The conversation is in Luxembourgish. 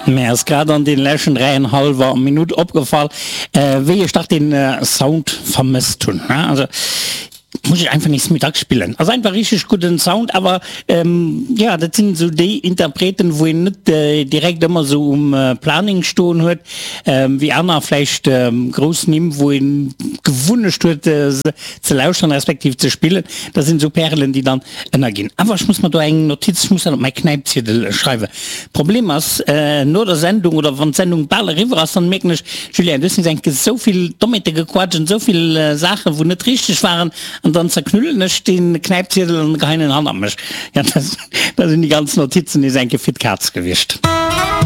Mär ass grad an den leschten dräienhallwer Minutt opgefall, wéi ech dach den Sound vermësst hunn. Also muss ech einfach nees méi dacks spillen. Ass einfach richteg gudden Sound, awer jo dat sinn esou déi Interpreten wou een net direkt ëmmer esou um Planning stoen huet wéi aner vläicht grouss Nimm wou een d'Gewunnecht huet se ze lauschteren respektiv ze spillen. Dat sinn esou Pärelen déi dann ënnerginn. Awer ech muss mer do eng Notiz, ech muss dat op mäi Knäipziedel schreiwen. Problem ass, no der Sendung oder wann d'Sendung bal eriwwer ass, dann mierken ech, Julien, du hues nees eng Kéier esou vill Dommheete gequatscht an esou vill Saachen, wou net richteg waren, an dann zerknullen ech dee Knäipziedel an geheien en hannert mech. Jo, da sinn déi ganz Notizen nees eng Kéier fir d'Kaz gewiescht.